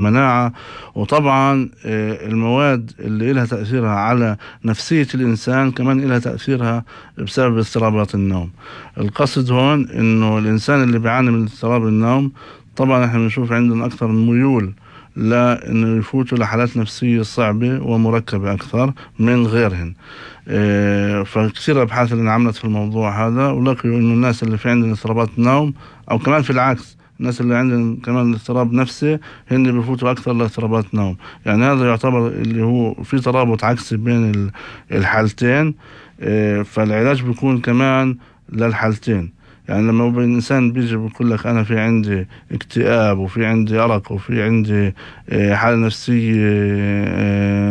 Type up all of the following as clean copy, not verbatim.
مناعة. وطبعا المواد اللي إلها تأثيرها على نفسية الإنسان كمان إلها تأثيرها بسبب اضطرابات النوم. القصد هون إنه الإنسان اللي بيعاني من اضطراب النوم طبعا إحنا بنشوف عندهم أكثر ميول لأنه يفوتوا لحالات نفسية صعبة ومركبة أكثر من غيرهن. فكثير أبحاث اللي انعملت في الموضوع هذا ولقوا إنه الناس اللي في عندهم اضطرابات نوم أو كمان في العكس الناس اللي عندهم كمان اضطراب نفسي هن بفوتوا أكثر لاضطرابات نوم. يعني هذا يعتبر اللي هو في ترابط عكسي بين الحالتين. فالعلاج بيكون كمان للحالتين. يعني لما الإنسان بيجي بيقول لك أنا في عندي اكتئاب وفي عندي أرق وفي عندي حالة نفسية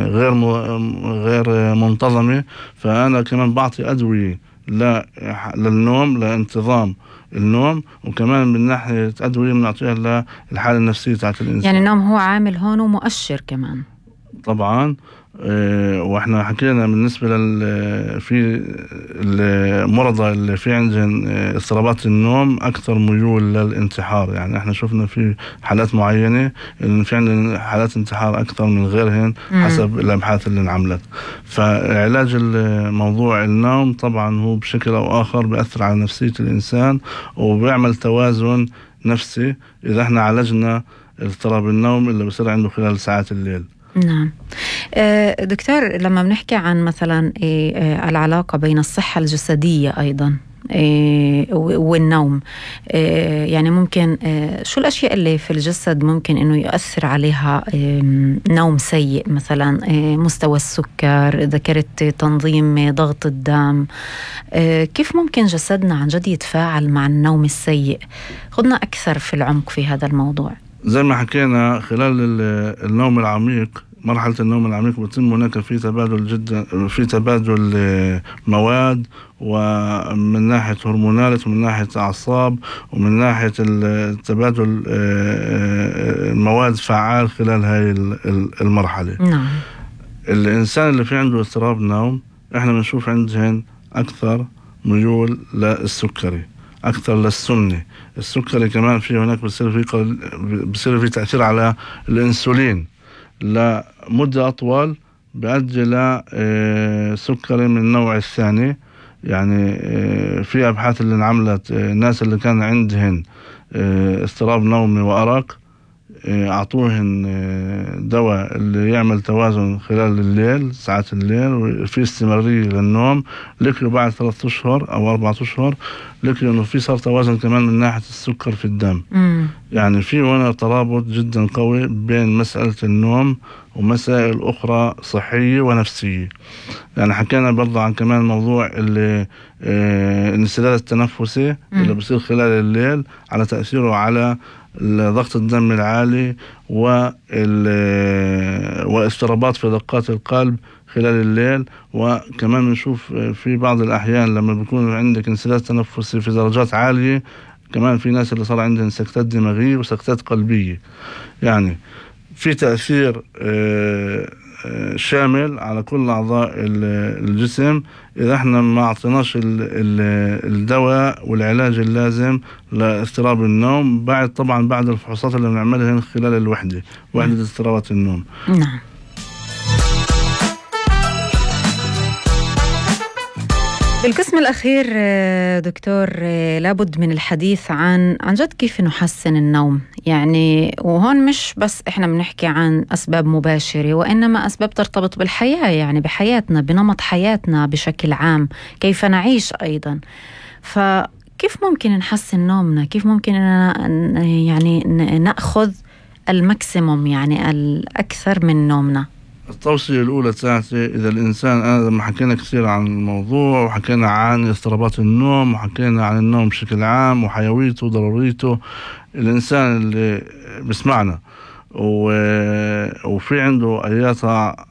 غير منتظمة، فأنا كمان بعطي أدوية للنوم لانتظام النوم، وكمان من ناحية أدوية بنعطيها للحالة النفسية تاعت الإنسان. يعني النوم هو عامل هون ومؤشر كمان طبعا. واحنا حكينا بالنسبة في المرضى اللي في عندهم اضطرابات النوم أكثر ميول للانتحار. يعني احنا شفنا في حالات معينة إن في عندنا حالات انتحار أكثر من غيرهن حسب الأبحاث اللي انعملت. فعلاج موضوع النوم طبعا هو بشكل أو آخر بيأثر على نفسية الإنسان وبيعمل توازن نفسي إذا احنا عالجنا اضطراب النوم اللي بصير عنده خلال ساعات الليل. نعم. دكتور، لما بنحكي عن مثلا العلاقة بين الصحة الجسدية أيضا والنوم، يعني ممكن شو الأشياء اللي في الجسد ممكن إنه يؤثر عليها نوم سيء؟ مثلا مستوى السكر، ذكرت تنظيم ضغط الدم، كيف ممكن جسدنا عن جد يتفاعل مع النوم السيء؟ خذنا أكثر في العمق في هذا الموضوع. زي ما حكينا خلال النوم العميق، مرحلة النوم العميق بتم هناك في تبادل مواد، ومن ناحية هرمونات ومن ناحية أعصاب ومن ناحية التبادل مواد فعال خلال هاي المرحلة. نعم. الإنسان اللي في عنده اضطراب نوم احنا بنشوف عندهن أكثر ميول للسكري، أكثر للسمنة. السكري كمان في هناك بصير في تأثير على الأنسولين لمدة أطول، بيؤدي لسكري من النوع الثاني. يعني في أبحاث اللي انعملت الناس اللي كان عندهن اضطراب نومي وأرق أعطوهن دواء اللي يعمل توازن خلال الليل ساعات الليل وفي استمرارية للنوم، لقوا بعد 3 أشهر أو 4 أشهر لقوا إنه في صار توازن كمان من ناحية السكر في الدم. يعني في هنا ترابط جدا قوي بين مسألة النوم ومسائل أخرى صحية ونفسية. يعني حكينا برضه عن كمان موضوع الانسداد التنفسي اللي بصير خلال الليل على تأثيره على ضغط الدم العالي واضطرابات في دقات القلب خلال الليل. وكمان نشوف في بعض الأحيان لما بيكون عندك انسداد تنفسي في درجات عالية كمان في ناس اللي صار عندهم سكتات دماغية وسكتات قلبية. يعني في تأثير شامل على كل أعضاء الجسم إذا احنا ما أعطيناش الدواء والعلاج اللازم لاضطراب النوم بعد الفحوصات اللي بنعملها خلال وحدة اضطرابات النوم. نعم. بالقسم الأخير دكتور لابد من الحديث عن جد كيف نحسن النوم. يعني وهون مش بس إحنا بنحكي عن أسباب مباشرة وإنما أسباب ترتبط بالحياة، يعني بحياتنا، بنمط حياتنا بشكل عام، كيف نعيش أيضا. فكيف ممكن نحسن نومنا؟ كيف ممكن يعني نأخذ الماكسيموم، يعني الأكثر من نومنا؟ التوصية الأولى تاعتي إذا الإنسان، أنا لما حكينا كثير عن الموضوع وحكينا عن اضطرابات النوم وحكينا عن النوم بشكل عام وحيويته وضروريته، الإنسان اللي بسمعنا وفي عنده أي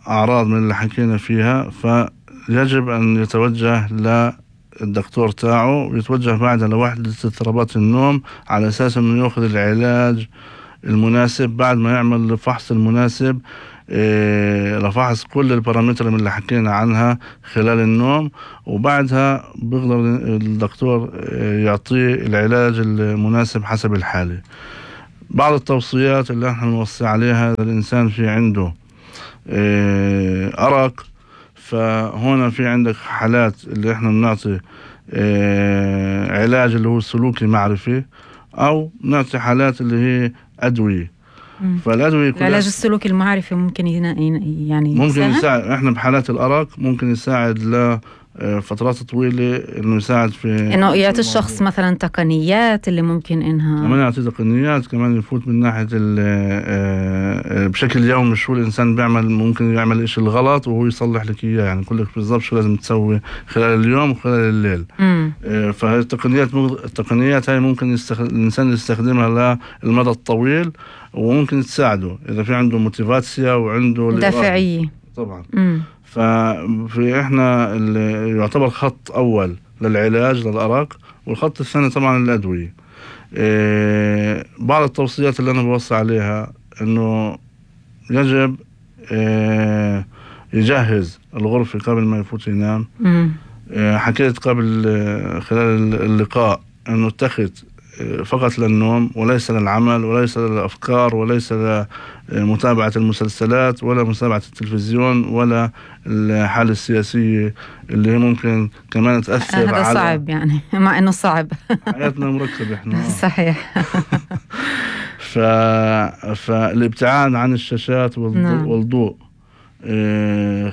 أعراض من اللي حكينا فيها فيجب أن يتوجه للدكتور تاعه ويتوجه بعدها لوحدة اضطرابات النوم على أساس أنه يأخذ العلاج المناسب بعد ما يعمل الفحص المناسب لفحص كل البارامتر من اللي حكينا عنها خلال النوم، وبعدها بيقدر الدكتور يعطيه العلاج المناسب حسب الحالة. بعض التوصيات اللي احنا نوصي عليها إذا الإنسان في عنده أرق، فهنا في عندك حالات اللي احنا بنعطي علاج اللي هو السلوكي معرفي، أو نعطي حالات اللي هي أدوية. فالأدوية العلاج السلوكي المعرفي ممكن يعني ممكن يساعد. احنا بحالات الأرق ممكن يساعد لفترات طويلة، انه يساعد في انه يعطي الشخص مثلا تقنيات اللي ممكن انها كمان يعطي تقنيات، كمان يفوت من ناحية بشكل يومي شو الإنسان بيعمل، ممكن يعمل إشي الغلط وهو يصلح لك إياه، يعني يقول لك بالضبط شو لازم تسوي خلال اليوم وخلال الليل. فهي التقنيات هاي ممكن الإنسان يستخدمها للمدى الطويل، وممكن تساعده إذا في عنده موتيفاتسيا وعنده دافعية طبعا. ففي إحنا اللي يعتبر خط أول للعلاج للأرق، والخط الثاني طبعا الأدوية. بعض التوصيات اللي أنا بوصي عليها إنه يجب يجهز الغرفة قبل ما يفوت ينام. حكيت قبل خلال اللقاء إنه اتخذ فقط للنوم وليس للعمل وليس للأفكار وليس لمتابعة المسلسلات ولا متابعة التلفزيون ولا الحالة السياسية اللي هي ممكن كمان تأثر هذا على صعب يعني مع إنه صعب حياتنا مركبة إحنا. صحيح. فالابتعاد عن الشاشات والضوء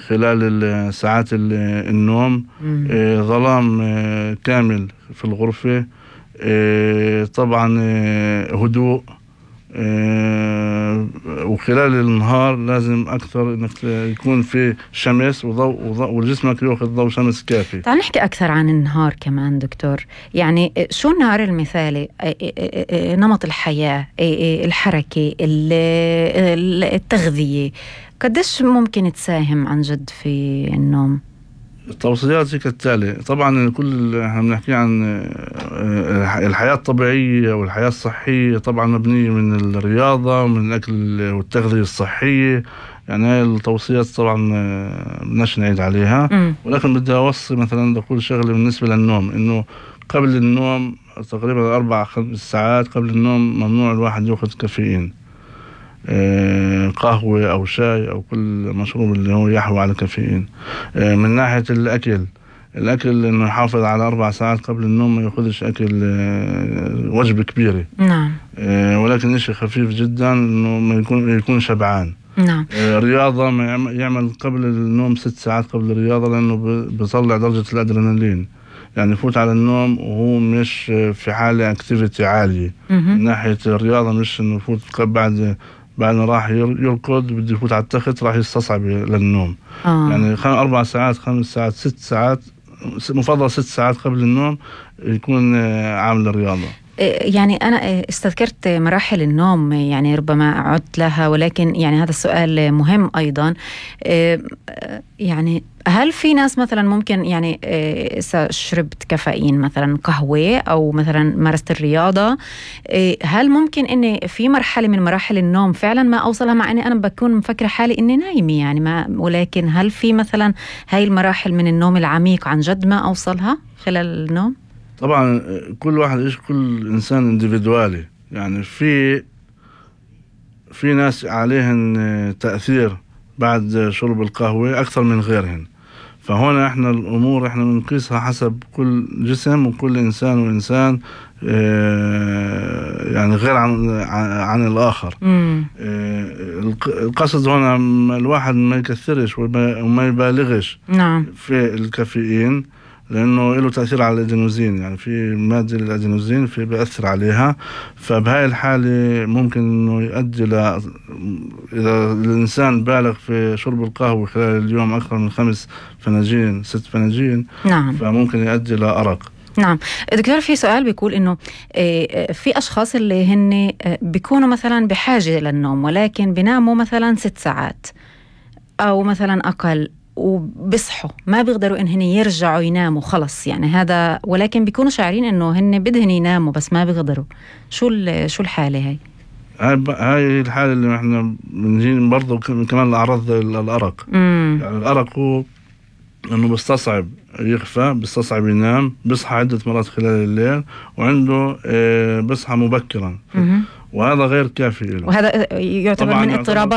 خلال ساعات النوم، ظلام كامل في الغرفة، طبعا هدوء، وخلال النهار لازم أكثر إنك يكون في شمس وضوء وجسمك يأخذ ضوء شمس كافي. تعال نحكي أكثر عن النهار كمان دكتور، يعني شو النهار المثالي؟ نمط الحياة، الحركة، التغذية، قديش ممكن تساهم عن جد في النوم؟ التوصيات هي كالتالي. طبعا كل احنا بنحكي عن الحياة الطبيعية والحياة الصحية، طبعا مبنية من الرياضة ومن الأكل والتغذية الصحية، يعني هاي التوصيات طبعا بدناش نعيد عليها. ولكن بدي أوصي مثلا أقول شغلة بالنسبة للنوم، إنه قبل النوم تقريبا 4-5 ساعات قبل النوم ممنوع الواحد يأخذ كافيين، قهوة أو شاي أو كل مشروب اللي هو يحوي على كافيين. من ناحية الأكل إنه يحافظ على 4 ساعات قبل النوم، ما يأخذش أكل وجبة كبيرة. نعم. ولكن إشي خفيف جدا، إنه ما يكون شبعان. نعم. رياضة ما يعمل قبل النوم 6 ساعات قبل الرياضة، لأنه بيطلع درجة الأدرينالين، يعني يفوت على النوم وهو مش في حالة اكتيفيتي عالية. من ناحية الرياضة مش إنه يفوت بعد ما راح يركض بده يفوت على التخت راح يستصعب للنوم. يعني 4 ساعات 5 ساعات 6 ساعات، مفضل 6 ساعات قبل النوم يكون عامل الرياضة. يعني أنا استذكرت مراحل النوم، يعني ربما عدت لها، ولكن يعني هذا السؤال مهم أيضا. يعني هل في ناس مثلا ممكن يعني إذا شربت كافيين مثلا قهوة أو مثلا مارست الرياضة، هل ممكن إني في مرحلة من مراحل النوم فعلا ما أوصلها، مع إني أنا بكون مفكرة حالي إني نايمة يعني ما، ولكن هل في مثلا هاي المراحل من النوم العميق عن جد ما أوصلها خلال النوم؟ طبعا كل واحد كل إنسان انديفيدوالي، يعني في ناس عليهن تأثير بعد شرب القهوة أكثر من غيرهن. فهنا احنا الأمور احنا بنقيسها حسب كل جسم وكل إنسان وإنسان، يعني غير عن الآخر. القصد هنا الواحد ما يكثرش وما يبالغش نعم في الكافيين، لأنه له تأثير على الأدينوزين، يعني في مادة الأدينوزين في بيأثر عليها. فبهاي الحالة ممكن إنه يؤدي إذا الإنسان بالغ في شرب القهوة خلال اليوم أكثر من 5 فناجين 6 فناجين، نعم، فممكن يؤدي لأرق. نعم دكتور، في سؤال بيقول إنه في أشخاص اللي هن بيكونوا مثلا بحاجة للنوم ولكن بيناموا مثلا 6 ساعات أو مثلا أقل، وبصحوا ما بيقدروا إن هن يرجعوا يناموا خلص، يعني هذا، ولكن بيكونوا شاعرين إنه هن بدهن يناموا بس ما بيقدروا. شو الحالة هاي الحالة اللي احنا بنجي برضو كمان الأعراض الأرق. يعني الأرق هو إنه بيستصعب يخفى، بيستصعب ينام، بيصحى عدة مرات خلال الليل، وعنده بيصحى مبكرا، وهذا غير كافي له. وهذا يعتبر من اضطرابات